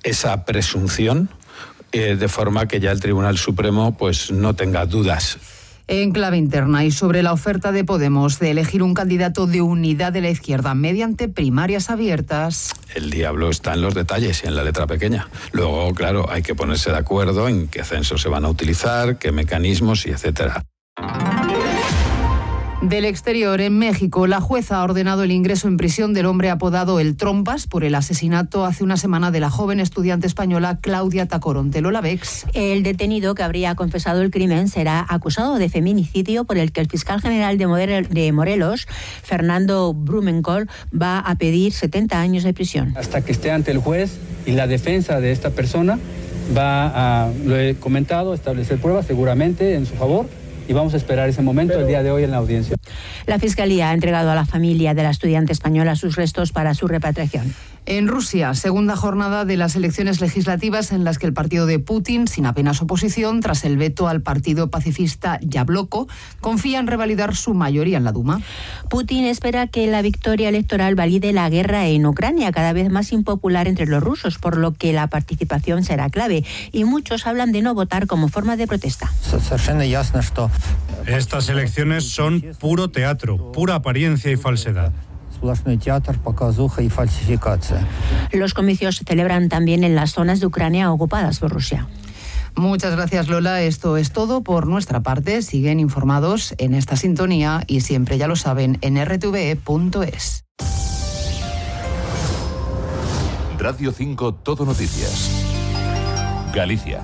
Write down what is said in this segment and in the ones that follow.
esa presunción, de forma que ya el Tribunal Supremo pues no tenga dudas. En clave interna y sobre la oferta de Podemos de elegir un candidato de unidad de la izquierda mediante primarias abiertas. El diablo está en los detalles y en la letra pequeña. Luego, claro, hay que ponerse de acuerdo en qué censos se van a utilizar, qué mecanismos y etcétera. Del exterior, en México, la jueza ha ordenado el ingreso en prisión del hombre apodado El Trompas por el asesinato hace una semana de la joven estudiante española Claudia Tacoronte. Lola Bex. El detenido que habría confesado el crimen será acusado de feminicidio por el que el fiscal general de Morelos, Fernando Blumenkohl, va a pedir 70 años de prisión. Hasta que esté ante el juez y la defensa de esta persona va a, lo he comentado, establecer pruebas seguramente en su favor. Y vamos a esperar ese momento el día de hoy en la audiencia. La Fiscalía ha entregado a la familia de la estudiante española sus restos para su repatriación. En Rusia, segunda jornada de las elecciones legislativas en las que el partido de Putin, sin apenas oposición, tras el veto al partido pacifista Yabloko, confía en revalidar su mayoría en la Duma. Putin espera que la victoria electoral valide la guerra en Ucrania, cada vez más impopular entre los rusos, por lo que la participación será clave. Y muchos hablan de no votar como forma de protesta. Estas elecciones son puro teatro, pura apariencia y falsedad. Los comicios se celebran también en las zonas de Ucrania ocupadas por Rusia. Muchas gracias, Lola. Esto es todo por nuestra parte. Siguen informados en esta sintonía y siempre, ya lo saben, en rtve.es. Radio 5 Todo Noticias. Galicia.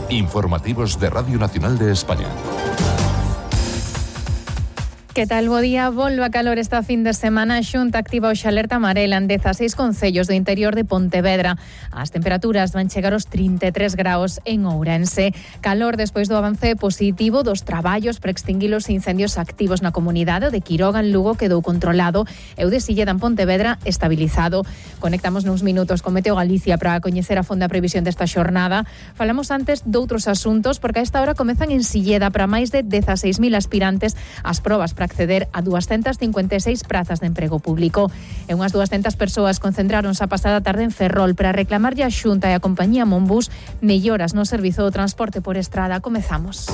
Informativos de Radio Nacional de España. Que tal, bo día? Volve a calor esta fin de semana. A Xunta activa hoxe alerta amarela en 16 concellos do interior de Pontevedra. As temperaturas van chegar aos 33 graus en Ourense. Calor despois do avance positivo dos traballos para extinguir os incendios activos na comunidade. O de Quiroga en Lugo quedou controlado e o de Silleda en Pontevedra estabilizado. Conectamos nuns minutos con Meteo Galicia para coñecer a fonda previsión desta xornada. Falamos antes doutros asuntos porque a esta hora comezan en Silleda para máis de 16.000 aspirantes as probas para acceder a 256 prazas de emprego público. E unhas 200 persoas concentráronse a pasada tarde en Ferrol para reclamarlle a Xunta e a compañía Monbus melloras no servizo do transporte por estrada. Comezamos.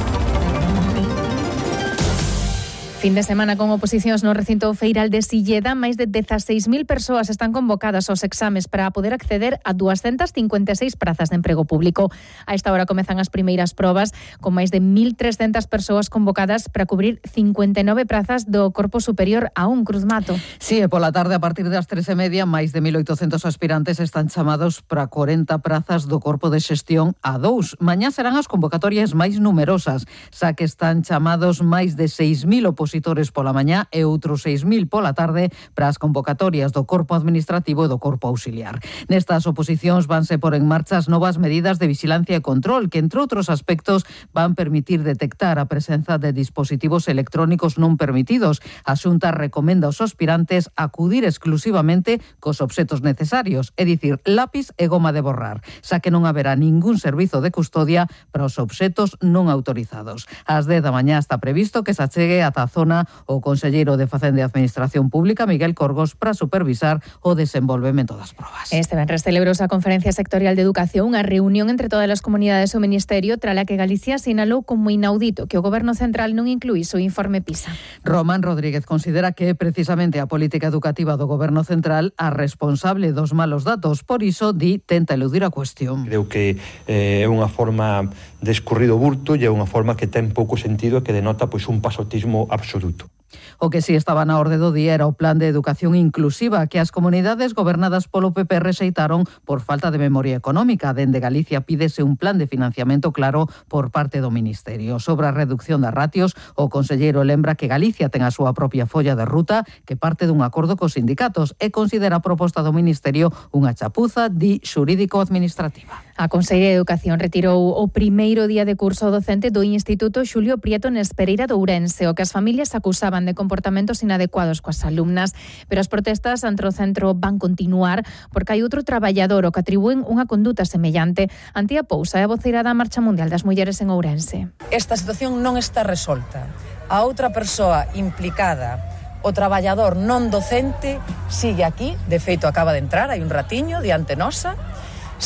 Fin de semana con oposicións no recinto feiral de Silleda. Máis de 16.000 persoas están convocadas aos exames para poder acceder a 256 prazas de emprego público. A esta hora comezan as primeiras probas con máis de 1.300 persoas convocadas para cubrir 59 prazas do Corpo Superior a un Cruz Mato. Sí, e pola tarde a partir das 3:30 máis de 1.800 aspirantes están chamados para 40 prazas do Corpo de Xestión A2. Mañá serán as convocatorias máis numerosas, xa que están chamados máis de 6.000 opositores pola mañá e outros 6.000 pola tarde para as convocatorias do Corpo Administrativo e do Corpo Auxiliar. Nestas oposicións vanse por en marcha as novas medidas de vigilancia e control que, entre outros aspectos, van permitir detectar a presenza de dispositivos electrónicos non permitidos. A Xunta recomenda aos aspirantes acudir exclusivamente cos obxetos necesarios, é dicir, lápiz e goma de borrar, xa que non haberá ningún servizo de custodia para os obxetos non autorizados. Ás 10 da mañá está previsto que se achegue ata a zona o conselleiro de Facenda e Administración Pública, Miguel Corgos, para supervisar o desenvolvemento das probas. Este venres celebrouse a Conferencia Sectorial de Educación, unha reunión entre todas as comunidades do Ministerio, tras a que Galicia sinalou como inaudito que o Goberno Central non incluíse o informe PISA. Román Rodríguez considera que é precisamente a política educativa do Goberno Central a responsable dos malos datos. Por iso, di, tenta eludir a cuestión. Creo que é unha forma de escurrido burto e é unha forma que ten pouco sentido e que denota pois un pasotismo absoluto. O que si estaba na orde do día era o Plan de Educación Inclusiva que as comunidades gobernadas polo PP rexeitaron por falta de memoria económica. Dende Galicia pídese un plan de financiamento claro por parte do Ministerio. Sobre a reducción das ratios, o conselleiro lembra que Galicia ten a súa propia folla de ruta que parte dun acordo cos sindicatos e considera a proposta do Ministerio unha chapuza, di, xurídico-administrativa. A Conselleira de Educación retirou o primeiro día de curso docente do Instituto Xulio Prieto Nespereira de Ourense, o que as familias acusaban de comportamentos inadecuados coas alumnas, pero as protestas ante o centro van continuar porque hai outro traballador o que atribúen unha conduta semellante. Antía Pousa é a voceira da Marcha Mundial das Mulleres en Ourense. Esta situación non está resolta. A outra persoa implicada, o traballador non docente, sigue aquí, de feito acaba de entrar, hai un ratiño diante nosa,